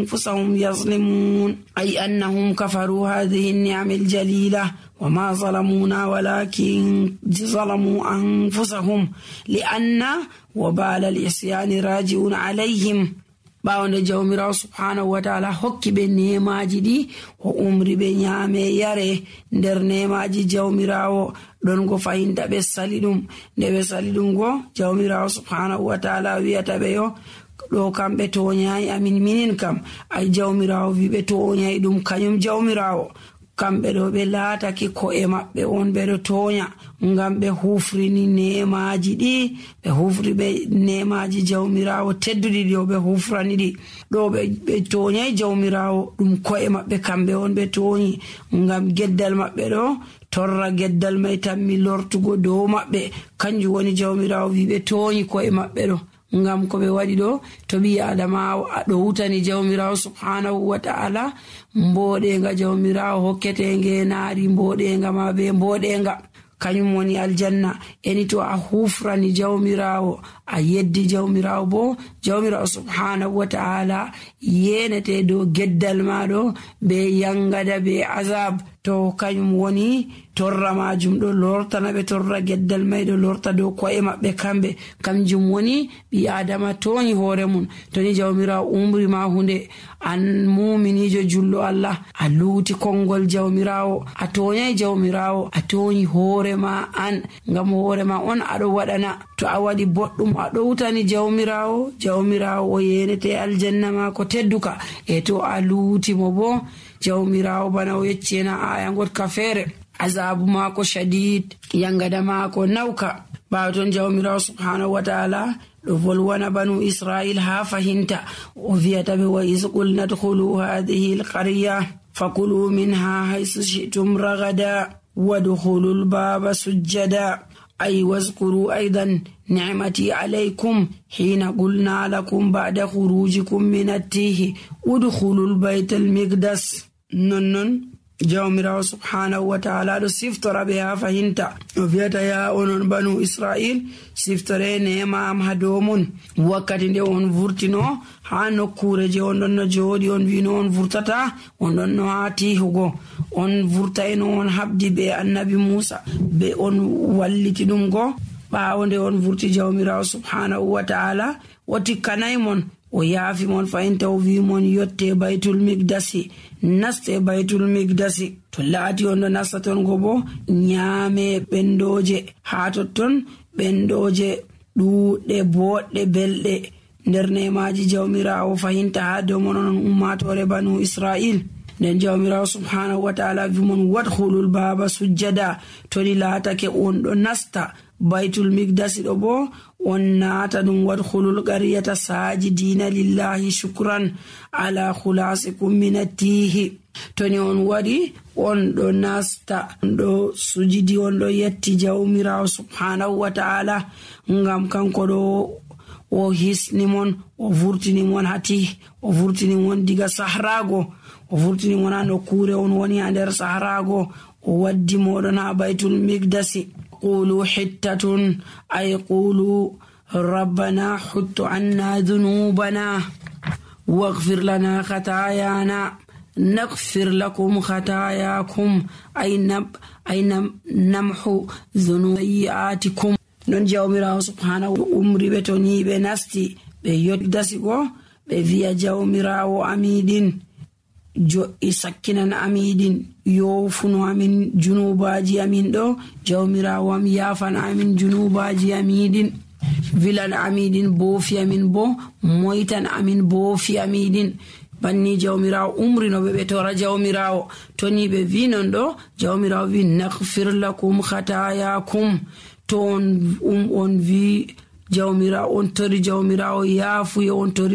أنفسهم يظلمون أي أنهم كفروا هذه النعم الجليلة وما ظلمونا ولكن ظلموا أنفسهم لأن وبال العصيان راجع عليهم. ɓaawde jawmirawo subhanahu wa ta'ala hokki ɓe nemaji ɗi o umri ɓe nyame yare nder nemaji jawmirawo ɗon go fahinta ɓe sali ɗum. nde ɓe sali ɗum go jawmirawo subhanahu wa ta'ala wiyata ɓe yo ɗo kamɓe toñayi amin minin kam ay jawmirawo wi ɓe toñayi ɗum kañum jawmirawo kamɓe ɗo ɓe laatake ko'e maɓɓe on ɓeɗo toña ngam ɓe hufrini nemaji ɗi ɓe hufri ɓe nemaji jawmirawo tedduɗi ɗi o ɓe hufrani ɗi ɗo ɓe toñai jawmirawo ɗum ko'e maɓɓe kamɓe on ɓe toñi ngam geddal maɓɓe ɗo torra geddal mai tammi lortugo dow maɓɓe kanjum woni jawmirawo wi ɓe toñi ko'e maɓɓe ɗo ngam ko ɓe waɗi ɗo to ɓi adama ɗo wutani jawmirawo subhanahu wa ta'ala mboɗenga jawmirawo hokkete ngenaari mboɗenga ma be mboɗenga kañum woni aljanna. eni to a hufrani jawmirawo a yeddi jawmirawo bo jawmirawo subhanahu wa ta'ala yenete dow geddal maɗo be yangada be azab to kañum woni torra majum ɗo lortana ɓe torra geddal may ɗo lorta dow ko'e maɓɓe kamɓe kanjum woni ɓi adama toñi hoore mum. toni jawmirawo umri ma hunde an muminijo jullo Allah a luuti konngol jawmirawo a toñai jawmirawo a toñi hoore ma an ngam hoore ma on aɗo waɗana to a waɗi boɗɗum aɗo wutani jawmirawo o yenete aljanna ma ko tedduka e to a luuti mo bo jawmirawo bana o yeccena aya gotka feere azabu mako shadid yangada mako nauka. ɓawo ton jawmirawo subhanahu wa ta'ala ɗo volwana banu israil ha fahinta o wiyata ɓe wa is qulna dkhulu hadhihi alqarya fakulu minha haythu shi'tum ragada wadkhulu albaba sujjada ay wazkuru aidan ni'mati alaykum hina qulna lakum ba'da khurujikum min at-tihi udkhulu albayta al-miqdas. non jawmirawo subhanahu wa ta'ala ɗo siftora ɓe ha fahinta o wiyata ya onon banu israil siftore nema am ha dow mon wakkati nde on vurtino ha nokkure je on ɗon no jooɗi on wino on vurtata on ɗon no ha tihugo on vurtaino on habdi be annabi Musa be on walliti ɗum go ɓawo nde on vurti jawmirawo subhanahu wa ta'ala o tikkanay mon o yaafi mon fahinta o wi mon yotte baytul miqdasi naste baytul miqdasi to laati on ɗo nasta ton go bo nyaame ɓendoje ha totton ɓendoje ɗuuɗɗe boɗɗe belɗe nder nemaji jawmirawo fahinta ha dow mon on ummatore banu israil. nden jawmirawo subhanahu wa ta'ala wi mon wadkhulul baba sujjada toni laatake on ɗo nasta baytul miqdasi ɗo bo on naata ɗum wadkhulul qaryata sajidina lillahi shukran ala khulasikum min at-tihi. toni on waɗi on ɗo nasta on ɗo sujidi on ɗo yetti jawmirawo subhanahu wa ta'ala ngam kanko ɗo o hisni mon o vurtini mon hati o vurtini mon diga sahrago o vurtini mon ha nokkure on woni ha nder sahrago o waddi moɗon ha baytul miqdasi. قولوا حتة أي قولوا ربنا حط عنا ذنوبنا واغفر لنا خطايانا نغفر لكم خطاياكم أي نمحو ذنوبياتكم. non jawmirawo subhanahu umri ɓe to ni ɓe nasti ɓe yoddasi go ɓe wiya jawmirawo amiɗin jo'i sakkinan amiɗin yofuno amin junubaji amin ɗo jawmirawo am yafan amin junubaji amiɗin wilan amiɗin boofi amin bo moytan amin boofi amiɗin. banni jawmirawo umrinoɓe ɓe tora jawmirawo toni ɓe wi non ɗo jawmirawo wi naghfir lakum khatayakum to on wi jawmirawo on tori jawmirawo yaafuye on tori